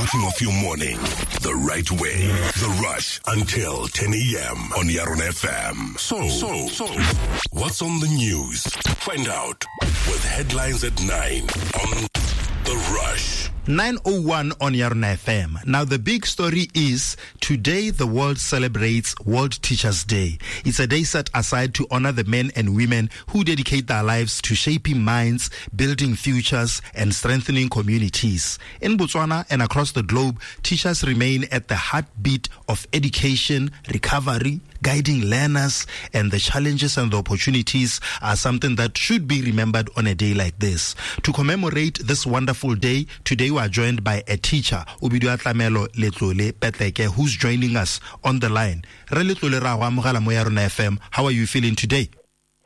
Starting off your morning the right way. The Rush until 10 a.m. on Yarona FM. So, so, so, what's on the news? Find out with headlines at 9 on The Rush. 901 on Yarona FM. Now, the big story is today the world celebrates World Teachers Day. It's a day set aside to honor the men and women who dedicate their lives to shaping minds, building futures, and strengthening communities. In Botswana and across the globe, teachers remain at the heartbeat of education, recovery, guiding learners, and the challenges and the opportunities are something that should be remembered on a day like this. To commemorate this wonderful day, today we are joined by a teacher, o bidiwa Tlamelo Letlole Petleke, who's joining us on the line. Re Letlole ra go amogela mo ya rona FM. How are you feeling today?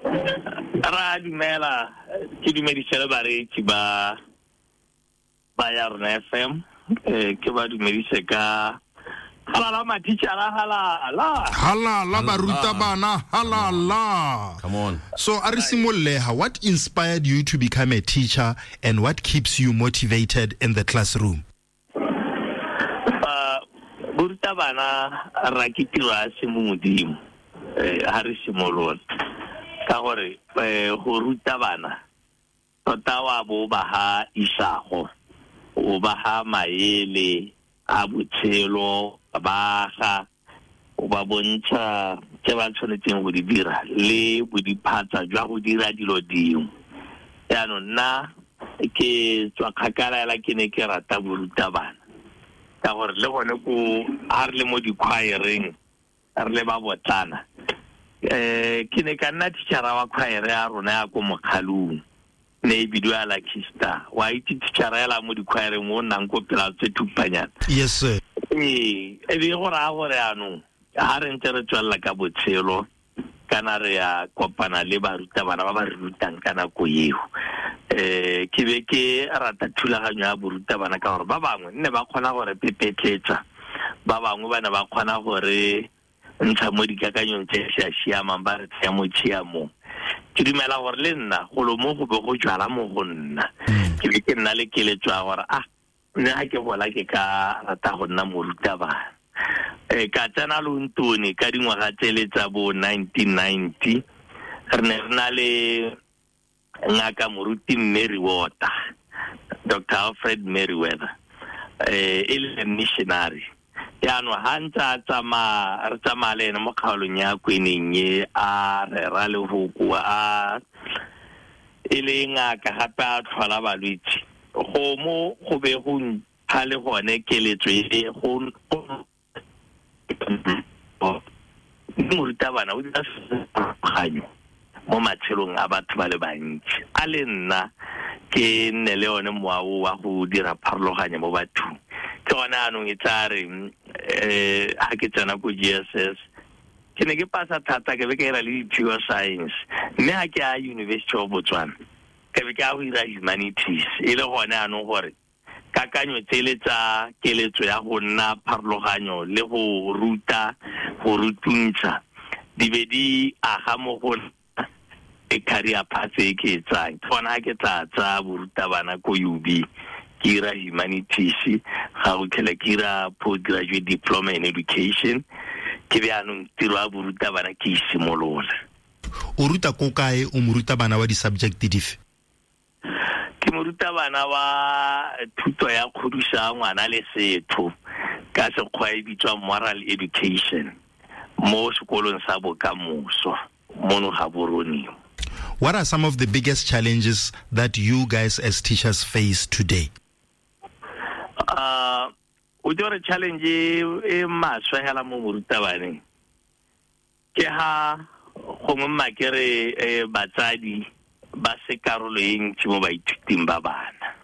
Ra dumela, ke dumedise le bareetsi ba ba ya rona FM, ke ba dumedise ka halala mathichara, halala. Halala barutabana, halala. Come on. So a re simolleha, what inspired you to become a teacher and what keeps you motivated in the classroom? Borutabana ra ke tiro ya semomodimo, ha re simolola ka gore go ruta bana tota wa bo ba ha isago, o ba ha maele a botshelo, ba ga o ba bontsha tse ba tshwanetseng go di dira le bodiphatsa jwa go dira dilo dingwe. Jaanong nna ke tswa kgakala hela ke ne ke rata borutabana ka gore le gone ko ha re le mo dikhwaereng re le ba botlana, ke ne ka nna teachera wa khwaere ya rona ya ko Mokgalong, ne e bidiwa Lucky Star. Wa itse teachera ela mo dikhwaereng o nnang ko pela tse thupanyana. Yes sir. Ee, e be go raya gore jaanong ha re ntse re tswelela ka botshelo kana re ya kopana le barutabana ba ba re rutang ka nako eo, ke be ke rata thulaganyo ya borutabana ka gore ba bangwe nne ba kgona gore pepetletsa, ba bangwe ba ne ba kgona gore ntsha mo dikakanyong tse di sa siamang, ba re tsaya mo tshiamong. Ke dumela gore le nna golo mo go be go jwala mo go nna, ke be ke nna le keletso ya gore nna ha ke gola ke ka rata go nna morutabana. Ka tsena Lontone ka dingwaga tsele tsa bo 1990, re ne re na le ngaka moruti Meriwether, Doctor Alfred Meriwether, e le missionary. Jaanong ha ntse a tsamaya, re tsamaya le ene mo kgaolong ya Kweneng e, a rera lefoko, a e le ngaka gape a tlhola balwetse. Go mo go be go mpha le gone keletso e go morutabana o dira pharologanyo mo matshelong a batho ba le bantsi. A le nna ke nne le one mowa o wa go dira pharologanyo mo bathong. Ke gone anong e tla re, ha ke tsena ko GSS, ke ne ke pasa thata, ke be ke ira le di-pure science. Mme ha ke ya University of Botswana, ke be ke ya go ira humanities. E le gone anong gore kakanyo tsele tsa keletso ya go nna pharologanyo le go ruta, go rutuntsha, di be di aga mo go nna e career path e ke e tsayang. Ke gona ha ke tla tsaya borutabana ko UB, ke ira humanities, ga go tlhela ke ira postgraduate diploma in education, ke be anong tiro ya borutabana ke e simolola. O ruta ko kae? O morutabana wa di-subject dife? Ke morutabana wa thuto ya kgodiso ya ngwana le setho, ka sekgwa e bitswa moral education, mo sekolong sa bokamoso mono Gaborone. What are some of the biggest challenges that you guys as teachers face today? O itse gore challenge e maswe hela mo morutabaneng ke ha gongwe mma ke re batsadi ba se karolo e ntsi mo baithuting ba bana.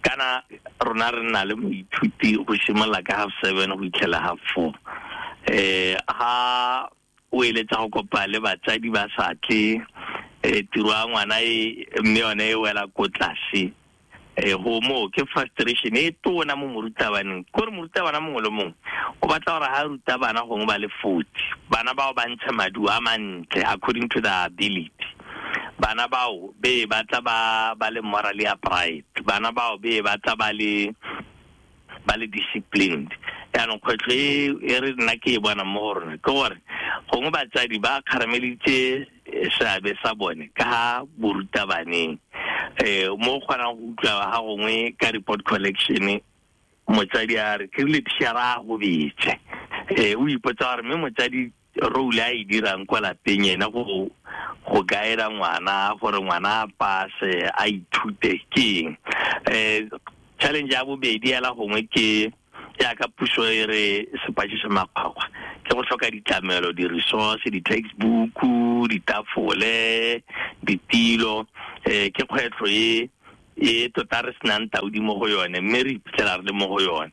Kana rona re nna le moithuti go simolola ka half seven go itlhela half four. Ha o eletsa go kopa le batsadi ba sa tle, tiro ya ngwana e, mme yone e wela ko tlase. Go mo ke frustration e tona mo morutabaneng. Ke gore morutabana mongwe le mongwe o batla gore ha ruta bana gongwe ba le 40, bana bao ba ntshe maduo a mantle according to their ability. Bana bao be ba tla ba le morally upright, bana bao be ba tla ba le Ba le disciplined. Yaanong kgwetlho e re nna ke e bona mo go rona ke gore gongwe batsadi ba kgarameleditse seabe sa bone ka ga borutabaneng, mo kgonang go utlwa ga gongwe ka report collection motsadi a re ke rile tišara a gobetse. O ipotsa gore mme motsadi role a e dirang kwa lapeng ena go guida ngwana gore ngwana a pase a ithute ke eng. Challenge ya bobedi ela gongwe ke jaaka puso e re sepatše se makgwakgwa ke go tlhoka ditlamelo, di-resource, di-textbook, ditafole, ditilo. Ke kgwetlho e tota re senang taudi mo go yone, mme re iphitlhela re le mo go yone.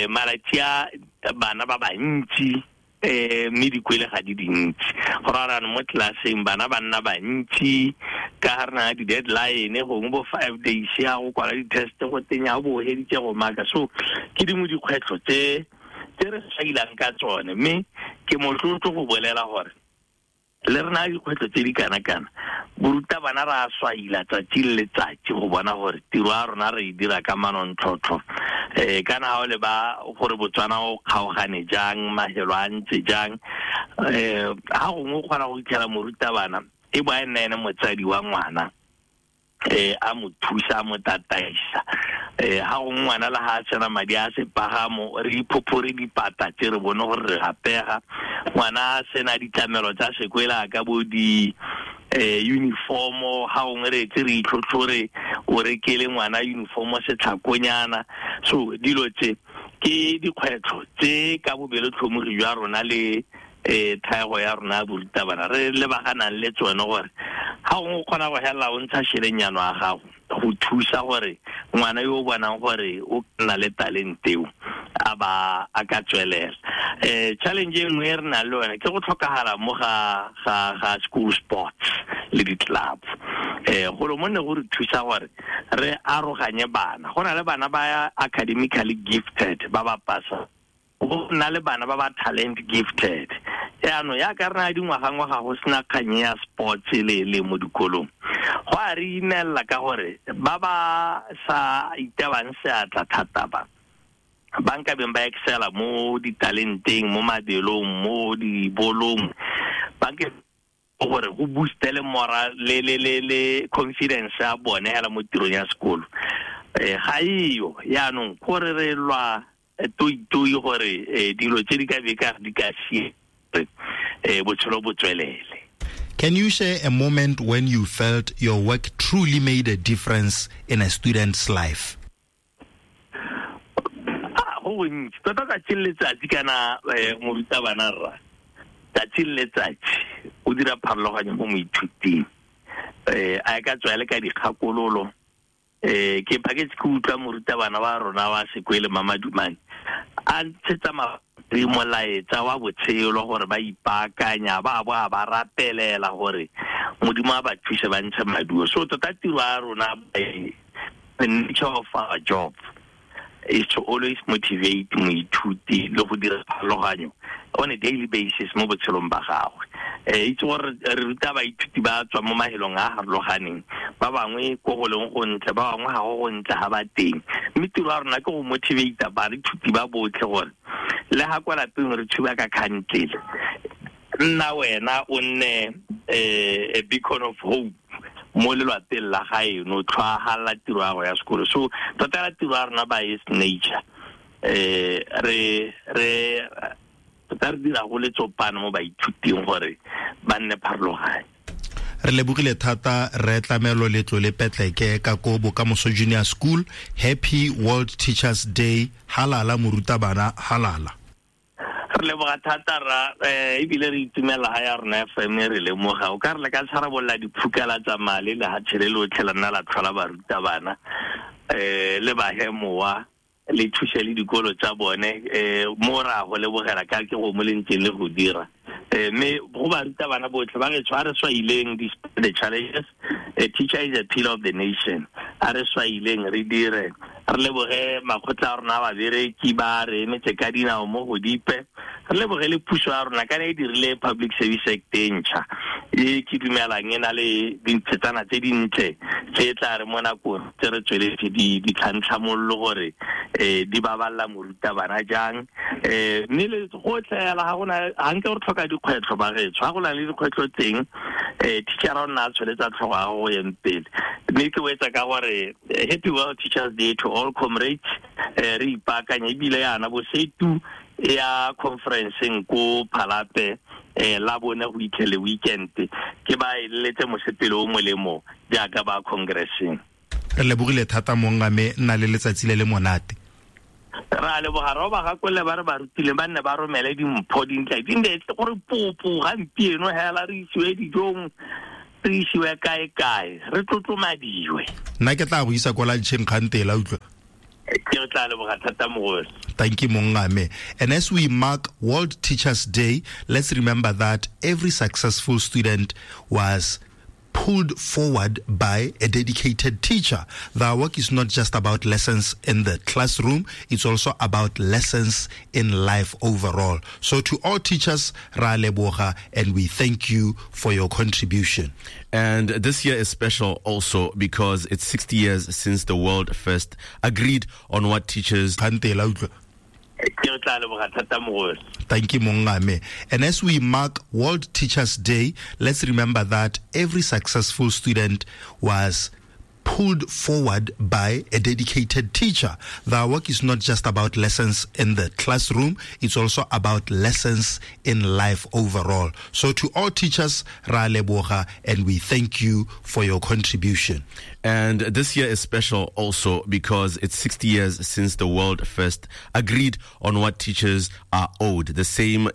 Malatsi a bana ba bantsi, mme dikwele ga di dintsi, go raya mo tlelaseng bana ba nna bantsi ka ga re na di-deadline gongwe bo 5 days ya go kwala di-test go teng ya bo heditse go maka. So ke dingwe dikgwetlho tse re sailang ka tsone, mme ke motlotlo go bolela gore le rena dikgwetlho tse di kana-kana borutabana re a swaila tsatsi le letsatsi go bona gore tiro ya rona re e dira ka manontlhotlho. Kana ga o le ba gore Botswana o kgaogane jang, mahelo a ntse jang, ga gongwe o kgona go fitlhela morutabana e bo a nna ene motsadi wa ngwana, a mo thusa, a mo tataisa. Ga gongwe ngwana le ga a sena madi a sepagamo, re iphophore dipata tse re bone gore re gapega. Ngwana a sena ditlamelo tsa sekwele ka bo di uniformo, ga gongwe re etse re itlhotlhore o rekele ngwana uniformo setlhakonyana. So dilo tse ke dikgwetlho tse ka bobelotlhomogi jwa rona le thaego ya rona ya borutabana re lebaganang le tsone, gore ga gongwe o kgona go helela o ntsha šhelenyano a gago go thusa gore ngwana yo o bonang gore o nna le talente eo a ba a ka tswelela. Challenge e nngwe e re nang le yone ke go tlhokagala mo ga school sports le di-club. Golo mo ne go re thusa gore re aroganye bana, go na le bana ba academically gifted ba ba pasa, go nna le bana ba ba talent gifted. Yaanong yaka re na dingwaga-ngwaga go sena kganye ya sports le mo dikolong, go a re imelela ka gore ba ba sa itebang seatla thata ba ba nkabeng ba excela mo ditalenteng, mo mabelong, mo dibolong, ba nke gore go boostele moral le confidence ya bone hela mo tirong ya sekolo. Ga eyo. Yaanong gore re lwa toi gore dilo tse di ka be ka di ka sie botshelo bo tswelele. Can you share a moment when you felt your work truly made a difference in a student's life? Go gontsi tota tsatsi le letsatsi kana morutabana rra tsatsi le letsatsi o dira pharologanyo mo moithuting. A ka tswa le ka dikgakololo. Ke phaketse ke utlwa morutabana wa rona wa sekwele Mamadumane a ntshetsa molaetsa wa botshelo gore ba ipaakanya, ba bo a ba rapelela gore Modimo a ba thuse ba ntshe maduo. So tota tiro ya rona, the nature of our job is to always motivate moithuti le go dira pharologanyo on a daily basis mo botshelong ba gagwe. Itse gore re ruta baithuti ba tswa mo mahelong a harologaneng, ba bangwe ko go leng go ntle, ba bangwe ga go go ntle ga ba teng, mme tiro ya rona ke go motivate baithuti ba botlhe gore le ga kwa lapeng re tshuba ka kgantlele, nna wena o nne a beacon of hope mo lelwapeng la gaeno, tlhwaagala tiro ya go ya sekolo. So tota la tiro ya rona by its nature, re tota re dira go letsopana mo baithuting gore ba nne pharologanyo. Re lebogile thata re Tlamelo Letlole Petleke ka ko Bokamoso Junior School. Happy World Teachers Day. Halala morutabana, halala. Re leboga thata ra, ebile re itumela ga ya rona FM re lemoga o ka re le ka tsharabolla diphukala tsa mali le ha tshele lotlhe la nna la tlhola barutabana, le bahemowa le thuse le dikolo tsa bone. Mo ra go lebogela ka ke go mo le ntseng le go dira. Mme go barutabana botlhe ba re tshware swaileng the challenges. A teacher is a pillar of the nation. A re swaileng re dire, re leboge makgotla a rona a babereki ba re emetse ka dinao mo go dipe, Re lebogele puso ya rona kana e dirile Public Service Act e ntšha e ke dumelang e na le dintshetana tse dintle tse tla re mo nakong tse re tsweletse di ditlhantlhamololo gore di baballa morutabana jang. Mme le gotlhe hela ga gona ga nke re tlhoka dikgwetlho bagetsho, ga go na le dikgwetlho teng teacher o nna a tsholetsa tlhogo ya go yeng pele. Mme ke wetsa ka gore happy World Teachers Day to all comrades. Re ipaakanya ebile yana bosetu ya conferenceng ko Phalape la bone go itlhele weekend, ke ba eleletse mosepele o molemo jaaka ba congresseng. Re lebogile thata mongame, nna le letsatsi le le monate. Ra leboga ro ba gakolle ba re ba rutile ba nne ba romele dimpho dintle di nne gore popo gampieno hela re isiwe dijong, re isiwe kae kae, re tlotlomadiwe. Nna ke tla go isa kwa luncheng kgantela utlwa. Ke tla leboga thata mogolo. Thank you mongame. And as we mark World Teachers Day, let's remember that every successful student was pulled forward by a dedicated teacher. Their work is not just about lessons in the classroom, it's also about lessons in life overall. So to all teachers, ra leboga, and we thank you for your contribution. And this year is special also because it's 60 years since the world first agreed on what teachers... Thank you mongame. And as we mark World Teachers Day, let's remember that every successful student was pulled forward by a dedicated teacher. Their work is not just about lessons in the classroom, it's also about lessons in life overall. So to all teachers, ra leboga, and we thank you for your contribution. And this year is special also because it's 60 years since the world first agreed on what teachers are owed. The same